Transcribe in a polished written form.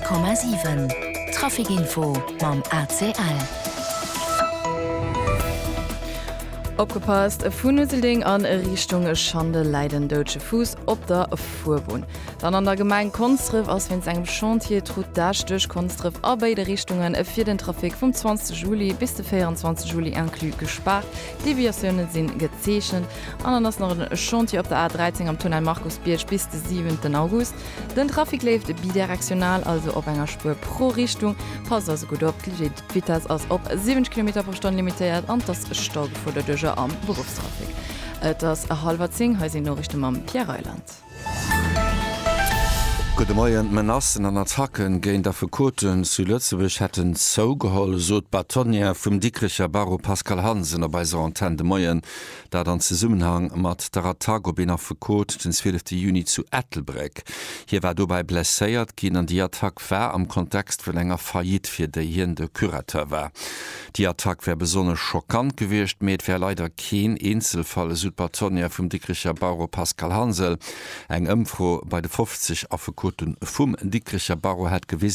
100,7 Trafic Info mam ACL. Opgepasst, Vun Useldeng an Richtung Schandel läit en doudege Fuuss op der Fuerbunn. Dann an der Gemeng Konsdref ass wéinst engem Chantier d'Route d'Esch duerch Konsdref a béide Richtunge fir den Trafic vum 20 Juli bis de 24 Juli inclus gespaart. Deviatioune si gezeechent. An dann ass nach en Chantier op der A 13 am Tunnel Markusbierg bis de 7 August. Den Trafic leeft bidirektional, also op enger Spuer pro Richtung. Passt also gutt op, d'Vitess ass op 70 Kilometer pro Stonn limitéiert an et ass Staugefor doduercher am Beruffstrafic. Et ass hallwer 10, hei sinn d'Noriichte mam Pierre Reyland. Gudde Moien. D'Menacen an Attacken géint Affekoten zu Lëtzebuerg hätten zougeholl, sot d'Bâtonnière vum Dikrecher Barreau Pascale Hansen op eiser Antenn de Moien. Dat an Zesummenhang mat der Attack op een Affekot den 12 Juni zu Ettelbréck. Hie war dobäi blesséiert ginn an déi Attack war am Kontext vun enger Faillite, fir déi hien de Curateur war. Déi Attack wär besonnesch schockant gewiescht, mee et wär leider keen Eenzelfall, esou d'Bâtonnière vum Dikricher Barreau Pascale Hansel. Eng Ëmfro bei de 50 Affekote vum Dikricher Barreau hätt gewisen,